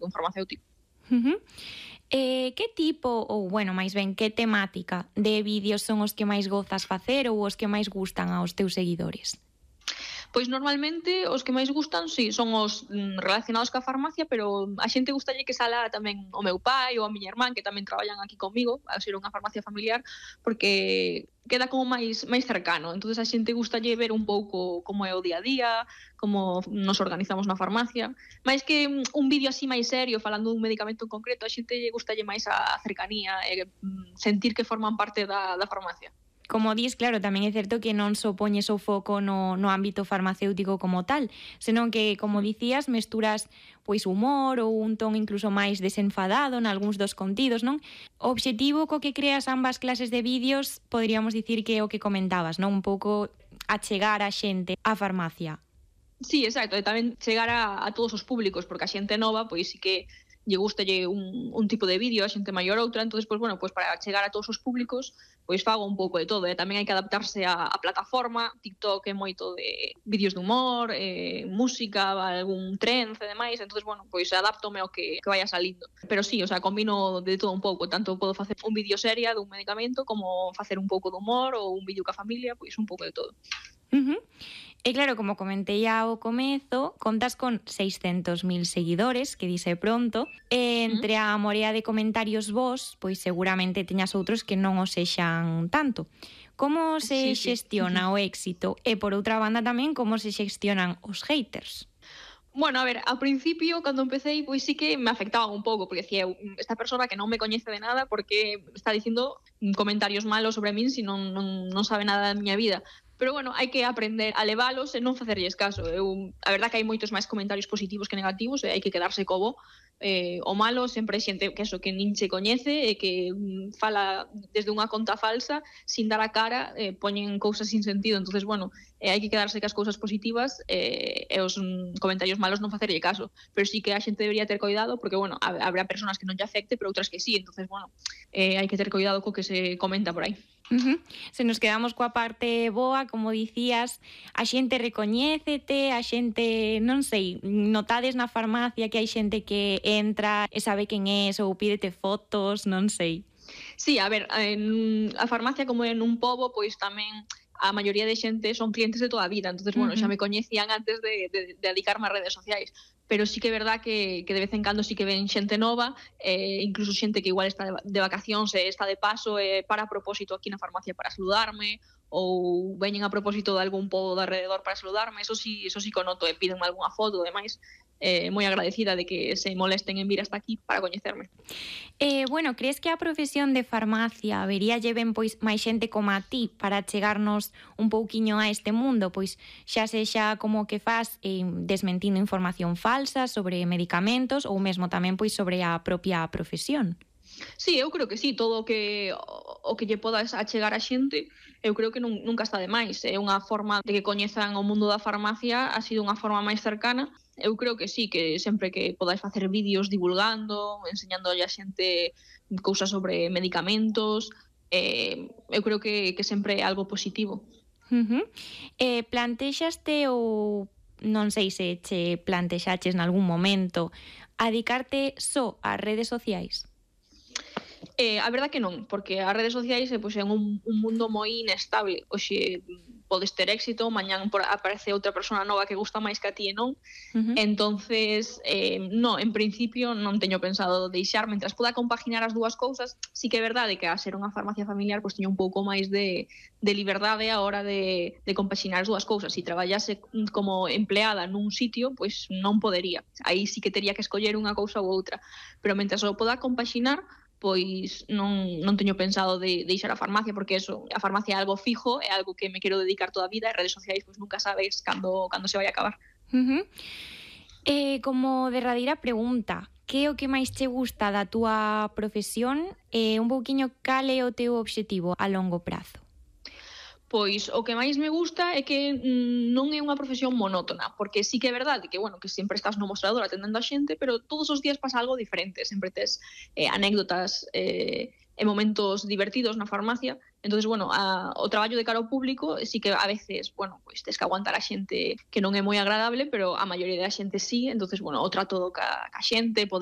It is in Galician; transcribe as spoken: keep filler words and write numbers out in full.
un farmacéutico. Uh-huh. Eh, que tipo, ou, bueno, máis ben, que temática de vídeos son os que máis gozas facer ou os que máis gustan aos teus seguidores? Pois normalmente os que máis gustan, si, son os mm, relacionados ca farmacia, pero a xente gustalle que sala tamén o meu pai ou a miña irmán, que tamén traballan aquí comigo, ao ser unha farmacia familiar, porque queda como máis máis cercano. Entonces a xente gustalle ver un pouco como é o día a día, como nos organizamos na farmacia. Máis que mm, un vídeo así máis serio, falando dun medicamento en concreto, a xente gustalle máis a cercanía e mm, sentir que forman parte da, da farmacia. Como dis, claro, tamén é certo que non só poñes o foco no, no ámbito farmacéutico como tal, senón que, como dicías, mesturas pois humor ou un ton incluso máis desenfadado nalgúns dos contidos, non? O obxectivo co que creas ambas clases de vídeos poderíamos dicir que é o que comentabas, non? Un pouco achegar a xente á farmacia. Sí, exacto, e tamén chegar a, a todos os públicos, porque a xente nova, pois sí que lle gustalle un, un tipo de vídeo, a xente maior outra, entonces, pois, bueno, pois para chegar a todos os públicos, pois fago un pouco de todo, e tamén hai que adaptarse a, a plataforma. TikTok é moito de vídeos de humor, eh, música, algún trend e demais, entonces, bueno, pois adaptome ao que, que vaya salindo. Pero sí, o sea, combino de todo un pouco, tanto podo facer un vídeo seria dun medicamento, como facer un pouco de humor ou un vídeo ca familia, pois un pouco de todo. Uh-huh. E claro, como comentei ao comezo, contas con seiscentos mil seguidores, que dice pronto, e entre a morea de comentarios vos, pois seguramente teñas outros que non os sexan tanto. Como se Sí, sí. xestiona o éxito? E por outra banda tamén, como se xestionan os haters? Bueno, a ver, ao principio, cando empecé, pois sí que me afectaba un pouco, porque decía, esta persona que non me coñece de nada, porque está dicindo comentarios malos sobre min, se non, non, non sabe nada da miña vida. Pero bueno, hai que aprender a levalos e non facerlles caso. Eu, a verdad que hai moitos máis comentarios positivos que negativos e hai que quedarse co bo. Eh, o malo sempre é xente que eso, que nin se coñece e que mm, fala desde unha conta falsa sin dar a cara, eh, poñen cousas sin sentido. Entonces, bueno, eh, hai que quedarse cas cousas positivas eh, e os mm, comentarios malos non facerlle caso. Pero sí que a xente debería ter cuidado porque, bueno, habrá personas que non lle afecte, pero outras que sí. Entonces, bueno, eh, hai que ter cuidado co que se comenta por aí. Uh-huh. Se nos quedamos coa parte boa, como dicías, a xente recoñécete, a xente, non sei, notades na farmacia que hai xente que entra e sabe quen és ou pídete fotos, non sei. Sí, a ver, en a farmacia como en un pobo, pois tamén a maioría de xente son clientes de toda a vida, entonces, bueno, uh-huh. xa me coñecían antes de, de, de dedicarme a redes sociais, pero sí que é verdad que, que de vez en cando sí que ven xente nova, eh, incluso xente que igual está de, de vacacións e está de paso e eh, para a propósito aquí na farmacia para saludarme, ou veñen a propósito de algún pobo de alrededor para saludarme, eso sí, eso sí que o noto, e pídenme algunha foto e demais. Eh, moi agradecida de que se molesten en vir hasta aquí para coñecerme. Eh, bueno, crees que a profesión de farmacia vería lleven pois máis xente como a ti para chegarnos un pouquiño a este mundo, pois xa sexa como que faz eh, desmentindo información falsa sobre medicamentos ou mesmo tamén pois sobre a propia profesión? Sí, eu creo que sí, todo o que o que lle podas achegar a xente, eu creo que nun, nunca está de máis. É unha forma de que coñezan o mundo da farmacia, ha sido unha forma máis cercana. Eu creo que sí, que sempre que podáis facer vídeos divulgando, enseñando a xente cousas sobre medicamentos, eh, eu creo que, que sempre é algo positivo. Uh-huh. Eh, plantexaste ou non sei se che plantexaches nalgún momento a dedicarte só ás redes sociais? Eh, a verdad que non, porque as redes sociais eh, pois, é un, un mundo moi inestable. Oxe, podes ter éxito, mañán por, aparece outra persona nova que gusta máis que a ti e non. Uh-huh. Entonces, eh, no, en principio non teño pensado deixar, mentras poda compaginar as dúas cousas. Sí que é verdade que a ser unha farmacia familiar pois teño un pouco máis de, de liberdade a hora de, de compaginar as dúas cousas. Se traballase como empleada nun sitio, pois non podería. Aí sí que tería que escoller unha cousa ou outra. Pero mentras o poda compaginar, pois non, non teño pensado de, de deixar a farmacia, porque eso, a farmacia é algo fijo, é algo que me quero dedicar toda a vida, e redes sociais pois nunca sabes cando, cando se vai a acabar. Uh-huh. Eh, como derradeira pregunta, que é o que máis che gusta da túa profesión e eh, un pouquiño cal é o teu obxectivo a longo prazo? Pois o que máis me gusta é que mm, non é unha profesión monótona, porque sí que é verdade que, bueno, que sempre estás no mostrador atendendo a xente, pero todos os días pasa algo diferente, sempre tes eh, anécdotas eh, e momentos divertidos na farmacia. Entonces, bueno, a, o traballo de cara ao público sí que a veces, bueno, pois tes que aguantar a xente que non é moi agradable, pero a maioría da xente sí. Entonces, bueno, o trato ca, ca xente, poder